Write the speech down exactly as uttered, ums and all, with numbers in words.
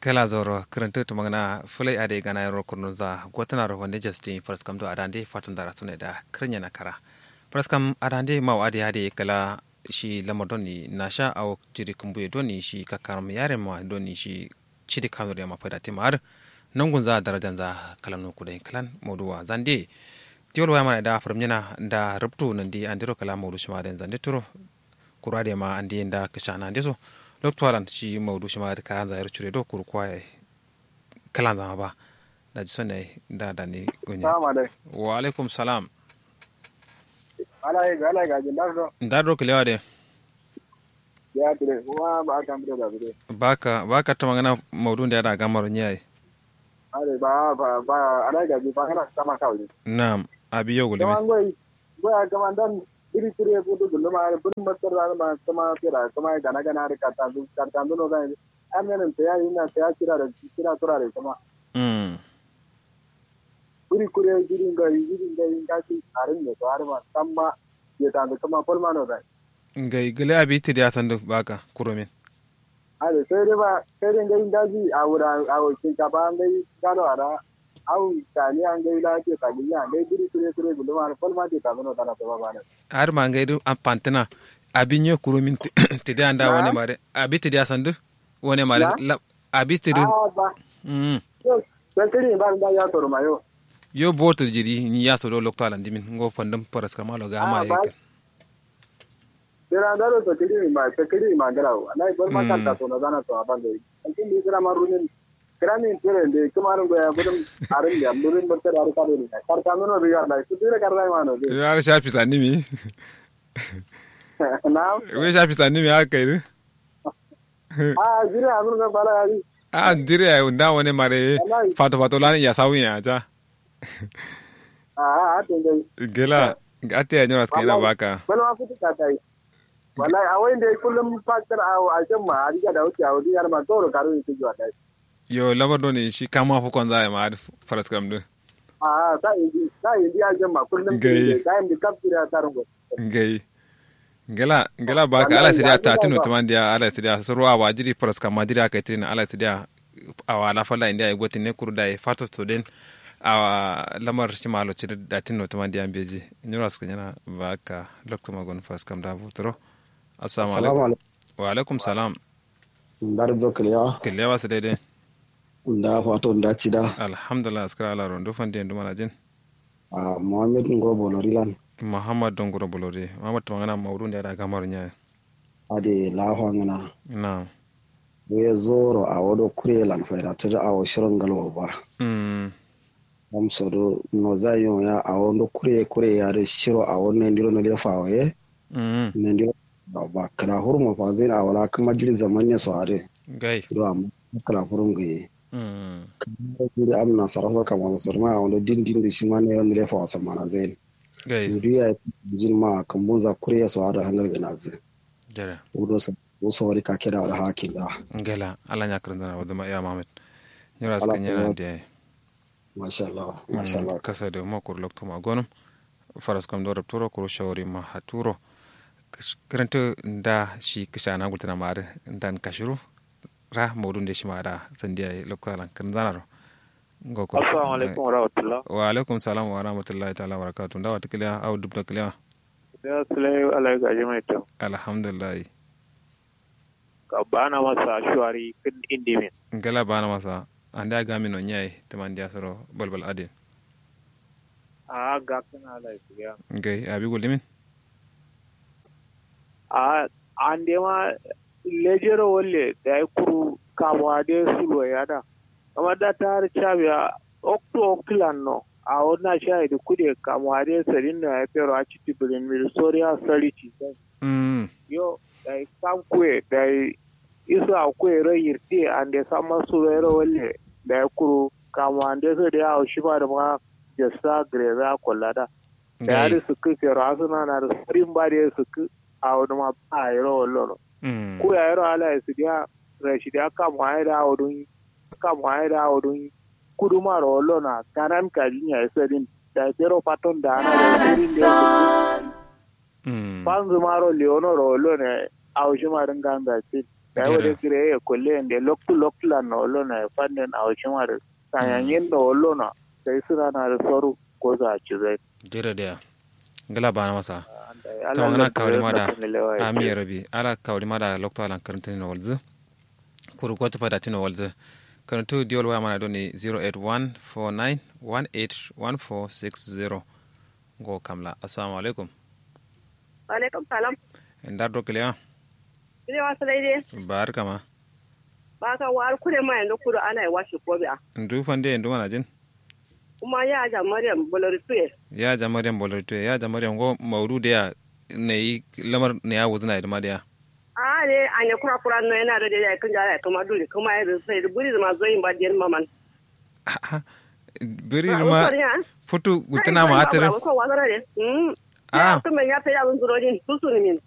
Kǝla zauro kǝrǝntǝ tǝmangǝna fǝlai adǝ ye gana yero kurnunza gotǝnaro fande jastin faraskam do adande fatun dara sune da kǝrǝnyena kara faraskam adande mau adǝ ye adǝ ye kǝla shi lamar doni nasha awo jiri kǝmbuye doni shi kakkaram yarema doni shi cidi kanuri yema faida tima adǝ nongunza darajanza kǝla nuku dai kǝlan mauduwa zande tiwal waya mana da fǝrǝmnyena da rubtu nandi andero kǝla maudu shima dai zande turo kuru adǝ yema andi nda kǝshana ndeso loktu alan shi maudu shima adǝ kayanza yero cure do kuru kwaye kǝlanza ma ba daji sonne nda dani goni. Salamu alaikum. Wa alaikum salam. Ala ye ga ala ye ga jin daro do. Nda daro kǝlewa de. Ya tire kuma ba kan bire da bire. Baka baka tuma ngana maudu nda ya da gamaro nyaye. Are ba ba ba ala ye ga jin ba ngana sama kawai. Na'am. Abi yo gulmi. Kuma ngoi ngoi a kuma ndan biri kure kudu gulma are biri masar da ma kuma kira kuma gana gana are katandu katandu no zan. An menin taya ina taya kira da kira tura da kuma. Mm. Buri kure jiri ngai jiri ngai ngai arin ne to har ma samma ye ta da kuma polma no dai. Ngai gele abi tidi asandu baka kurumin. Ade sai dai ba sai dai ngai ngaji a wura a wakin ka ba ngai galo ara. Au tani an gai la ke ta ginya ngai buri kure kure gulma polma ke ta no dana to ba ba ne. Har ma ngai du an pantina abi nye kurumin tidi anda wane mare abi tidi asandu. Wane mare abi tiri. Mm. Yo boto jiri ni yaso do lokto alandimin ngo fandum paraskama lo gama ye. Dira daro to kiri ma to kiri ma gara wa nai bor ma kanta to na zana to abande. Antin ni kira ma runin kira ni tere de kuma ran goya budum arin ya budum bor tere arin kare ni karta no riga dai su dire karta ma no de. Yar shafi sanimi. Na we shafi sanimi haka kai. A jiri a zurga bala gari. A jiri a nda wane mare fato fato lani ya sawi ya ja. A a ate ngai. Gela ate ya nyora skena baka. Bala wa kutu ka tai. Wallahi a wai ndai kullum fakar a a shan ma a riga da wuce a wuri yar ma toro karo yake jiwa dai. Yo lamar doni shi kama fu konza ya ma faras kam din. A a sa indi sa indi a shan ma kullum. Ngai. Sa indi kafira tarungo. Ngai. Ngela ngela baka ala sidiya tatino timandiya ala sidiya surwa ba jiri faras kama jiri aka itirina ala sidiya. Awa la falla indiya igotin ne kuru da fato to den. Awa lamar shima lo ciri datin no timandiya mbeji. Nyura suka nyana baka lokto magon faras kam da buturo. Assalamu alaikum. Wa alaikum salam. Ndar do kiliya. Kiliya wasu daidai. Nda fato nda cida. Alhamdulillah askara ala rondu fandi yandu mana jin. A muhammad nguro bolori lan. Muhammad don nguro bolori muhammad tumangana maudu nda da gamar nya. Ade lafa ngana. Na. We zoro a wodo kure lan faida tir a wo shiron galwa ba. Mm. Am sodo no zayon ya a wodo kure kure ya de shiro a wodo ne ndiro no lefa wo ye. Mm. Ne ndiro ba kala hurma fa zin a wala kuma jiri zaman ne so ade. Gai. Do am kala hurum gai. Kǝmma jiri amna saraso kamma so sǝrma awondo din din du shima nairo nǝlefa wa sammana zain. Ndu yayi jin ma kǝmbunza kuriye so adǝ hangal gǝnazǝ. Wudo so wuri kake da wala hakin da. Ngela ala nya kǝrǝnzǝna wuduma ya mamet. Nyiro askǝ nyena diyayi. Mashallah mashallah. Kasa dǝ ma kuru loktu ma gonǝm. Faraskam do rǝpturo kuru shawari ma haturo. Kǝrǝntǝ nda shi kǝshana gultǝna ma adǝ ndan kashiru. Ra maudu nde shima da sandiya ye lokta lan kǝrǝnzanaro. Assalamu alaikum warahmatullah. Wa alaikum salam warahmatullahi taala wabarakatu nda wata kǝliya au dubta kǝliya. Ya sulai alai gaji mai tam. Alhamdulillahi. Ka bana masa shuwari kǝn indimin. Ngala bana masa ande agami no nyayi tǝmandiya soro balbal adin. Aa gakkǝna alai kǝliya. Ngai abi gullumin. Aa ande ma lejero walle dayi kuru kamuwa de sulwai ada. Kamar da ta har cabiya oktu oktu lanno awo na shayi da kude kamuwa de sadin no yayi fero a citi birin miri soriya sari ci sai. Yo dayi kam kuye dayi isu a kuye ro yirti ande samma sulwairo walle dayi kuru kamuwa ande so de awo shima da ma jassa greza kollada. Dayi adǝ sǝkkǝ fero asǝnana dǝ sarin ba dǝ ye sǝkkǝ. Awo dǝ ma ba yero wallono. Ku yayero ala ye sǝdiya rashidiya kamuwa ye dǝ awo dǝ nyi. Kamuwa ye dǝ awo dǝ nyi. Kudumaro wallono a kanan kajin yayi sadin. Dayi bero faton dana da kurin da ya kutu. Fanzu maro leono ro wallo na ya. Awo shima din ganza cin. Dayi wade kire ya kulle yande loktu loktu lan no wallo na ya fanden awo shima din. Sanyanyen no wallo na. Sai suna na da soru. Goza a cizai. Jere da ya. Ngila bana masa. Tamangana kawali ma da. Amin ya rabi. Ala kawali ma da loktu alan karantini no walzu. Kuru gotu fada tino walzu. Karantu diwol waya mana doni zero eight one four nine one eight one four six zero. Ngo kamla assalamu alaikum. Alaikum salam. Ndar do kiliya? Kiliya wasu daidai. Ba har kama. Ba ka war kure ma yanzu kudu ana yi washe kobe a. Ndu fande ndu mana jin. Kuma ya ja maryam bolori tuye. Ya ja maryam bolori tuye ya ja maryam go maudu da ya. Ne yi lamar ne ya wuzuna da ma da ya. A ne a ne kura kura no yana da da ya kun ja ya kuma duri kuma ya sai da buri zuma zoyin ba den maman. Buri ma futu gutana ma hatar. Ko wazara ne. Mm. Ah. Kuma ya sai da zun zuro din susu ni min.